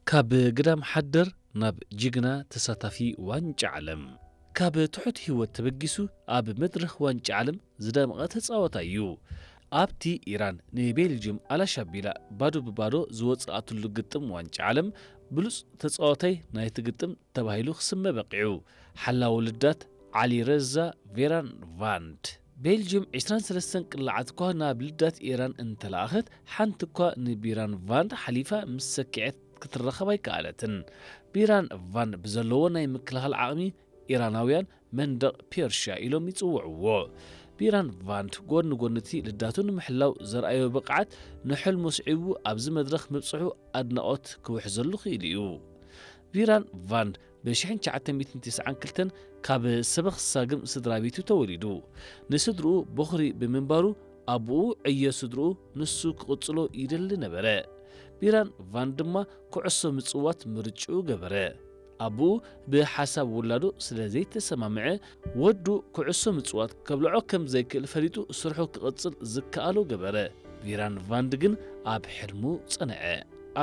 ካብ ግዳም ሓደር ናብ ጅግና ተሳታፊ ዋንጫ ዓለም። ካብ ትሑት ህይወት ተበጊሱ ኣብ መድረኽ ዋንጫ ዓለም ዝደመቐ ተጻዋታይ እዩ። ኣብቲ ኢራን ንቤልጅም ኣላሻቢላ ባዶ ብባዶ ዝወጽኣትሉ ግጥም ዋንጫ ዓለም፣ ብሉጽ ተጻዋታይ ናይቲ ግጥም ተባሂሉ ክስመ በቒዑ። ሓላዊ ልዳት ዓሊ ረዛ ቬራን ቫንድ። ቤልጅም ዕስራን ሰለስተን ቅላዓት እኳ ናብ ልዳት ኢራን እንተለኣኸት፣ ሓንቲ እኳ ንቢራን ቫንድ ሓሊፋ ምስ ሰኪዐት ክትረኸብ ኣይከኣለትን። ቢራን ቫንድ ብዘለዎ ናይ ምክልኻል ዓቕሚ፣ ኢራናውያን መንደቕ ፔርሽያ ኢሎም ይጽውዕዎ። ቢራን ቫንድ ጎድኒ ጎድኒ እቲ ልዳቱ ንምሕላው ዘርኣዮ ብቕዓት፣ ንሕልሙ ስዒቡ ኣብዚ መድረኽ ምብጽሑ ኣድናቖት ክውሕዘሉ ክኢሉ እዩ። ቢራን ቫንድ ብ ሽሕን ትሽዓተ ሚእትን ተስዓን ክልተን ካብ ሰበኽ ሳግም ስድራ ቤቱ ተወሊዱ። ንስድርኡ በኹሪ ብምንባሩ፣ ኣቦኡ ዕዮ ስድርኡ ንሱ ክቕጽሎ ይደሊ ነበረ። ቢራን ቫንድ ድማ ኩዕሶ ምጽዋት ምርጭኡ ገበረ። ኣቦኡ ብሓሳብ ውላዱ ስለ ዘይተሰማምዐ፣ ወዱ ኩዕሶ ምጽዋት ከብልዖ ከም ዘይክእል ፈሊጡ ስርሑ ክቕጽል ዝከኣሎ ገበረ። ቢራን ቫንድ ግን ኣብ ሕልሙ ጸንዐ።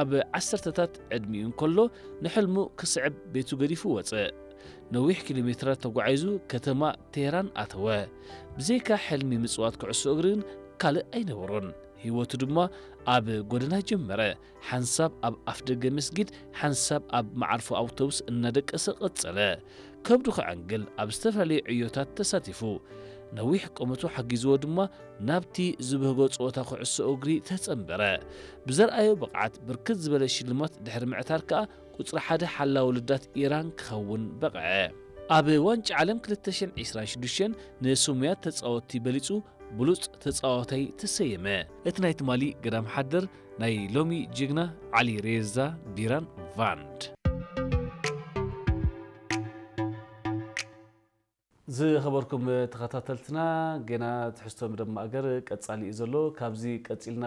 ኣብ ዓሰርተታት ዕድሚኡ እንከሎ ንሕልሙ ክስዕብ ቤቱ ገዲፉ ወጸ። ነዊሕ ኪሎ ሜትራት ተጓዒዙ ከተማ ቴህራን ኣተወ። ብዘይካ ሕልሚ ምጽዋት ኩዕሶ እግሪ ግን ካልእ ኣይነበሮን። ህይወቱ ድማ ኣብ ጎደና ጀመረ። ሓንሳብ ኣብ ኣፍደገ መስጊድ፣ ሓንሳብ ኣብ መዓርፎ ኣውቶቡስ እናደቀሰ ቀጸለ። ከብዱ ከዐንግል ኣብ ዝተፈላለዩ ዕዮታት ተሳቲፉ። ነዊሕ ቁመቱ ሓጊዝዎ ድማ ናብቲ ዝብህጎ ጸወታ ኩዕሶ እግሪ ተጸንበረ። ብዘርኣዮ ብቕዓት ብርክት ዝበለ ሽልማት ድሕሪ ምዕታር ከኣ ቁጽሪ ሓደ ሓላዊ ልዳት ኢራን ክኸውን በቕዐ። ኣብ ዋንጫ ዓለም ክልተ ሽሕን ዕስራን ሽዱሽተን ንስሙያት ተጻወትቲ በሊጹ ብሉጽ ተጻዋታይ ተሰየመ። እቲ ናይ ትማሊ ገዳም ሓደር ናይ ሎሚ ጅግና ዓሊ ሬዛ ቢራን ቫንድ። ዝኸበርኩም ተኸታተልትና፣ ገና ትሕዝቶ መደብ ማእገር ቀጻሊ እዩ ዘሎ። ካብዚ ቀጺልና